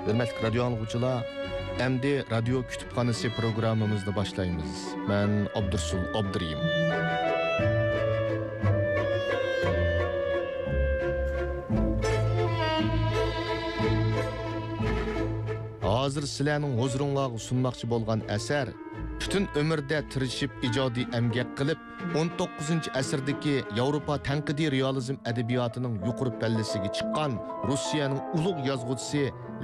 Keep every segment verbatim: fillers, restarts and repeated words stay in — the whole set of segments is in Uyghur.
ھۆرمەتلىك رادىيو ئاڭلىغۇچىلار، ئەمدى رادىيو كۇتۇپخانىسى پروگراممىمىزنى باشلايمىز. مەن ئابدۇرسۇل ئابدۇرېھىم. ھازىر سىلەرنىڭ ھۇزۇرۇڭلارغا سۇنماقچى بولغان ئەسەر پۈتۈن ئۆمرىدە تىرىشىپ ئىجادىي ئەمگەك قىلىپ، ئون توققۇزىنچى ئەسىردىكى ياۋروپا تەنقىدىي رېئالىزم ئەدەبىياتىنىڭ يۇقىرى پەللىسىگە چىققان روسىيەنىڭ ئۇلۇغ يازغۇچىسى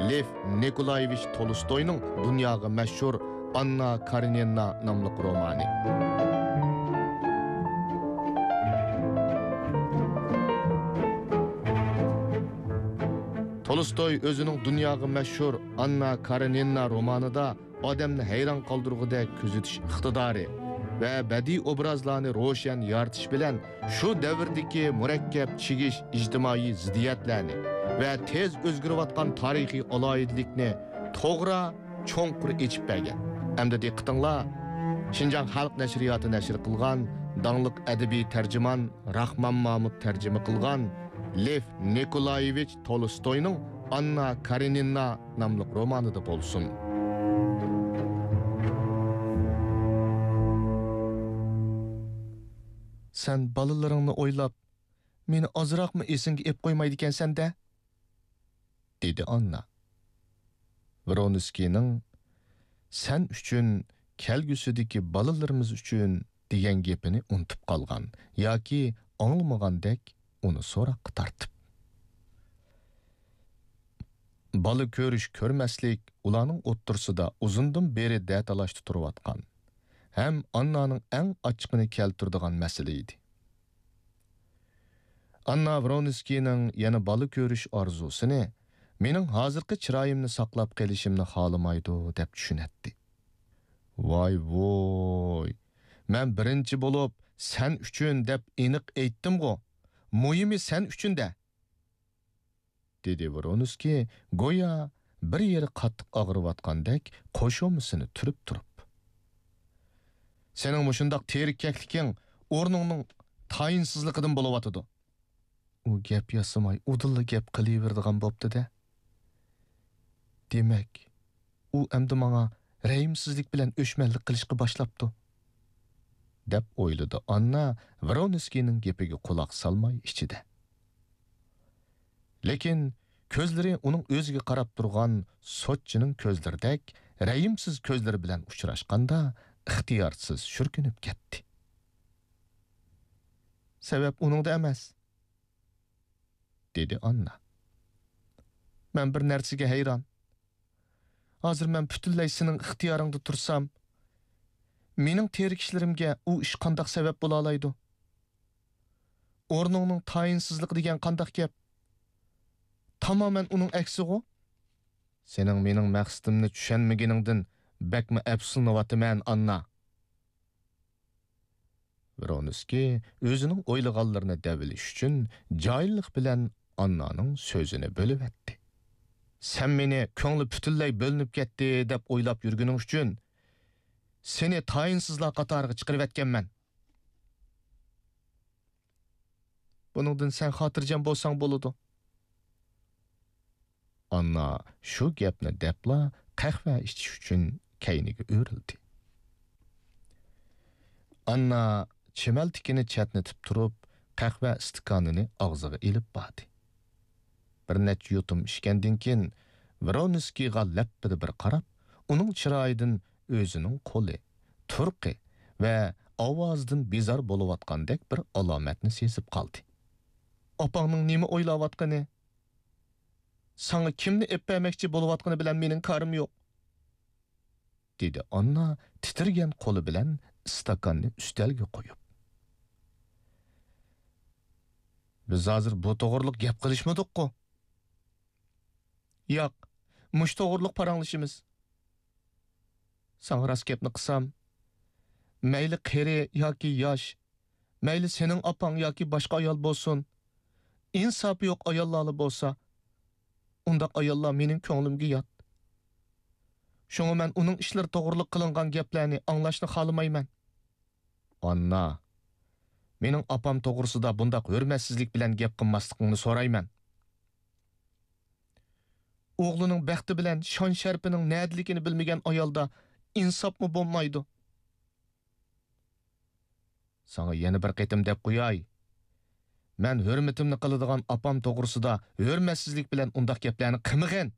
لېف نىكولايېۋىچ تولستوينىڭ دۇنياغا مەشھۇر ئاننا كارېنىنا ناملىق رومانى. تولستوي ئۆزىنىڭ دۇنياغا مەشھۇر ئاننا كارېنىنا رومانىدا ئادەمنى ھەيران قالدۇرغۇدەك كۆزىتىش ئىقتىدارى ۋە بەدىئىي ئوبرازلارنى روشەن يارىتىش بىلەن شۇ دەۋردىكى مۇرەككەپ چىگىش ئىجتىمائىي زىددىيەتلەرنى ۋە تېز ئۆزگىرىۋاتقان تارىخىي ئالاھىدىلىكنى توغرا، چوڭقۇر ئېچىپ بەرگەن. ئەمدى دىققىتىڭلار، شىنجاڭ خەلق نەشرىياتى نەشر قىلغان داڭلىق ئەدەبىي تەرجىمان راخمان مامۇت تەرجىمە قىلغان لېف نىكولايېۋىچ تولستوينىڭ ئاننا كارېنىنا ناملىق رومانىدا بولسۇن. سەن بالىلىرىڭنى ئويلاپ، مېنى ئازراقمۇ ئېسىڭگە ئېپ قويمايدىكەنسەن-دە؟ دېدى ئاننا. ۋرونسكىينىڭ «سەن ئۈچۈن، كەلگۈسىدىكى بالىلىرىمىز ئۈچۈن» دېگەن گېپىنى ئۇنتۇپ قالغان ياكى ئاڭلىمىغاندەك ئۇنى سوراققا تارتىپ. بالا كۆرۈش-كۆرمەسلىك ئۇلارنىڭ ئوتتۇرىسىدا ئۇزۇندىن بېرى دەتالاشتا تۇرۇۋاتقان ھەم ئاننانىڭ ئەڭ ئاچچىقىنى كەلتۈرىدىغان مەسىلە ئىدى. ئاننا ۋرونسكىينىڭ يەنە بالا كۆرۈش ئارزۇسىنى مېنىڭ ھازىرقى چىرايىمنى ساقلاپ قېلىشىمنى خالىمايدۇ دەپ چۈشىنەتتى. ۋاي ۋوي، مەن بىرىنچى بولۇپ «سەن ئۈچۈن» دەپ ئېنىق ئېيتتىمغۇ، مۇھىمى «سەن ئۈچۈن» دە! دېدى ۋرونسكىي گويا بىر يېرى قاتتىق ئاغرىۋاتقاندەك قوشۇمىسىنى تۈرۈپ تۇرۇپ. سېنىڭ مۇشۇنداق تېرىككەكلىكىڭ ئورنۇڭنىڭ تايىنسىزلىقىدىن بولۇۋاتىدۇ. ئۇ گەپ ياسىماي ئۇدۇللا گەپ قىلىۋېرىدىغان بوپتۇ-دە. دېمەك، ئۇ ئەمدى ماڭا رەھىمسىزلىك بىلەن ئۆچمەنلىك قىلىشقا باشلاپتۇ، دەپ ئويلىدى ئاننا ۋرونسكىينىڭ گېپىگە قۇلاق سالماي ئىچىدە. لېكىن كۆزلىرى ئۇنىڭ ئۆزىگە قاراپ تۇرغان سوتچىنىڭ كۆزلىرىدەك رەھىمسىز كۆزلىرى بىلەن ئۇچراشقاندا ئىختىيارسىز شۈركۈنۈپ كەتتى. سەۋەب ئۇنىڭدا ئەمەس، دېدى ئاننا. مەن بىر نەرسىگە ھەيران. ھازىر مەن پۈتۈنلەي سېنىڭ ئىختىيارىڭدا تۇرسام، مېنىڭ تېرىكىشلىرىمگە ئۇ ئىش قانداق سەۋەب بولالايدۇ؟ ئورنۇڭنىڭ تايىنسىزلىقى دېگەن قانداق گەپ؟ تامامەن ئۇنىڭ ئەكسىغۇ. سېنىڭ مېنىڭ مەقسىتىمنى چۈشەنمىگىنىڭدىن بەكمۇ ئەپسۇسلىنىۋاتىمەن، ئاننا. ۋرونسكىي ئۆزىنىڭ ئويلىغانلىرىنى دەۋېلىش ئۈچۈن جاھىللىق بىلەن ئاننانىڭ سۆزىنى بۆلۈۋەتتى. سەن مېنى كۆڭلى پۈتۈنلەي بۆلۈنۈپ كەتتى دەپ ئويلاپ يۈرگىنىڭ ئۈچۈن سېنى تايىنسىزلار قاتارىغا چىقىرىۋەتكەنمەن. بۇنىڭدىن سەن خاتىرجەم بولساڭ بولىدۇ. ئاننا شۇ گەپنى دەپلا قەھۋە ئىچىش ئۈچۈن كەينىگە ئۆرۈلدى. ئاننا چىمەلتىكىنى چەتنىتىپ تۇرۇپ، قەھۋە ئىستىكانىنى ئاغزىغا ئېلىپ باردى. بىر نەچچە يۇتۇم ئىچكەندىن كېيىن، ۋرونسكىيغا لەپپىدە بىر قاراپ، ئۇنىڭ چىرايىدىن ئۆزىنىڭ قولى، تۇرقى ۋە ئاۋازىدىن بىزار بولۇۋاتقاندەك بىر ئالامەتنى سېزىپ قالدى. ئاپاڭنىڭ نېمە ئويلاۋاتقىنى، ساڭا كىمنى ئېلىپ بەرمەكچى بولۇۋاتقىنى بىلەن مېنىڭ كارىم يوق، دېدى ئاننا تىترىگەن قولى بىلەن ئىستاكاننى ئۈستەلگە قويۇپ. بىز ھازىر بۇ توغرىلىق گەپ قىلىشمىدۇققۇ؟ ياق، مۇشۇ توغرىلىق پاراڭلىشىمىز. ساڭا راست گەپنى قىلسام، مەيلى قېرى ياكى ياش، مەيلى سېنىڭ ئاپاڭ ياكى باشقا ئايال بولسۇن، ئىنساپى يوق ئاياللارلا بولسا، ئۇنداق ئاياللار مېنىڭ كۆڭلۈمگە يات. شۇڭا مەن ئۇنىڭ ئىشلىرى توغرىلىق قىلىنغان گەپلەرنى ئاڭلاشنى خالىمايمەن. ئاننا، مېنىڭ ئاپام توغرىسىدا بۇنداق ھۆرمەتسىزلىك بىلەن گەپ قىلماسلىقىڭنى سورايمەن. ئوغلىنىڭ بەختى بىلەن شان-شەرىپىنىڭ نەدىلىكىنى بىلمىگەن ئايالدا ئىنساپمۇ بولمايدۇ. ساڭا يەنە بىر قېتىم دەپ قوياي، مەن ھۆرمىتىمنى قىلىدىغان ئاپام توغرىسىدا ھۆرمەتسىزلىك بىلەن ئۇنداق گەپلەرنى قىلمىغىن!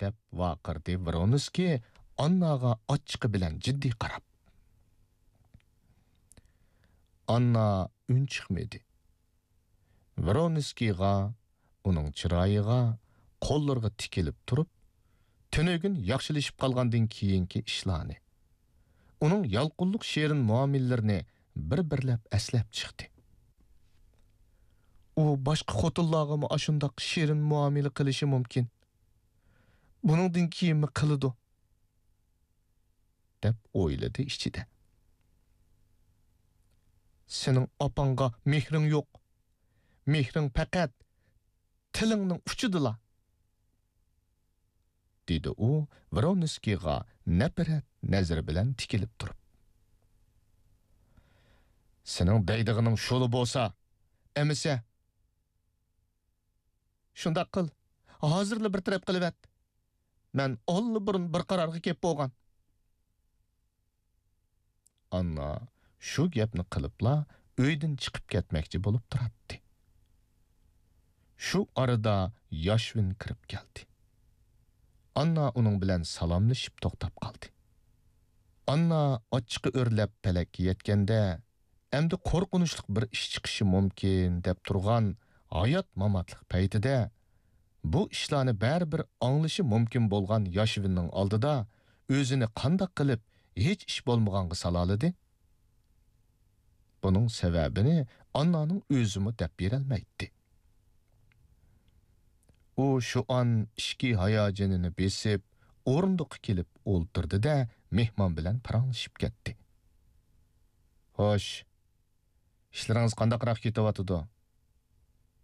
دەپ ۋارقىرىدى ۋرونسكىي ئانناغا ئاچچىقى بىلەن جىددىي قاراپ. ئاننا ئۈن چىقمىدى. ۋرونسكىيغا، ئۇنىڭ چىرايىغا، قوللىرىغا تىكىلىپ تۇرۇپ، تۈنۈگۈن ياخشىلىشىپ قالغاندىن كېيىنكى ئىشلارنى، ئۇنىڭ يالقۇنلۇق شېرىن مۇئامىلىلىرىنى بىر-بىرلەپ ئەسلەپ چىقتى. ئۇ باشقا خوتۇنلارغىمۇ ئاشۇنداق شېرىن مۇئامىلە قىلىشى مۇمكىن. بۇنىڭدىن كېيىنمۇ قىلىدۇ، دەپ ئويلىدى ئىچىدە. سېنىڭ ئاپاڭغا مېھرىڭ يوق. مېھرىڭ پەقەت تىلىڭنىڭ ئۇچىدىلا، دېدى ئۇ ۋرونسكىيغا نەپرەت نەزىرى بىلەن تىكىلىپ تۇرۇپ. سېنىڭ دەيدىغىنىڭ شۇلا بولسا، ئەمىسە. شۇنداق قىل، ھازىرلا بىر تەرەپ قىلىۋەت. مەن ئاللىبۇرۇن بىر قارارغا كېلىپ بولغان. ئاننا شۇ گەپنى قىلىپلا ئۆيدىن چىقىپ كەتمەكچى بولۇپ تۇراتتى. شۇ ئارىدا ياشۋىن كىرىپ كەلدى. ئاننا ئۇنىڭ بىلەن سالاملىشىپ توختاپ قالدى. ئاننا ئاچچىقى ئۆرلەپ پەلەككە يەتكەندە، ئەمدى قورقۇنچلۇق بىر ئىش چىقىشى مۇمكىن دەپ تۇرغان ھايات-ماماتلىق پەيتىدە، بۇ ئىشلارنى بەرىبىر ئاڭلىشى مۇمكىن بولغان ياشۋىننىڭ ئالدىدا ئۆزىنى قانداق قىلىپ ھېچ ئىش بولمىغانغا سالالىدى؟ بۇنىڭ سەۋەبىنى ئاننانىڭ ئۆزىمۇ دەپ بېرەلمەيتتى. ئۇ شۇ ئان ئىچكى ھاياجىنىنى بېسىپ، ئورۇندۇققا كېلىپ ئولتۇردى-دە، مېھمان بىلەن پاراڭلىشىپ كەتتى. خوش، ئىشلىرىڭىز قانداقراق كېتىۋاتىدۇ؟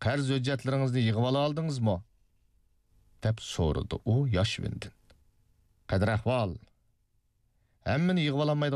قەرز ھۆججەتلىرىڭىزنى يىغىۋالالدىڭىزمۇ؟ دەپ سورىدى ئۇ ياشۋىندىن. قەدىر ئەھۋال؟ ھەممىنى يىغىۋالالمايدىغان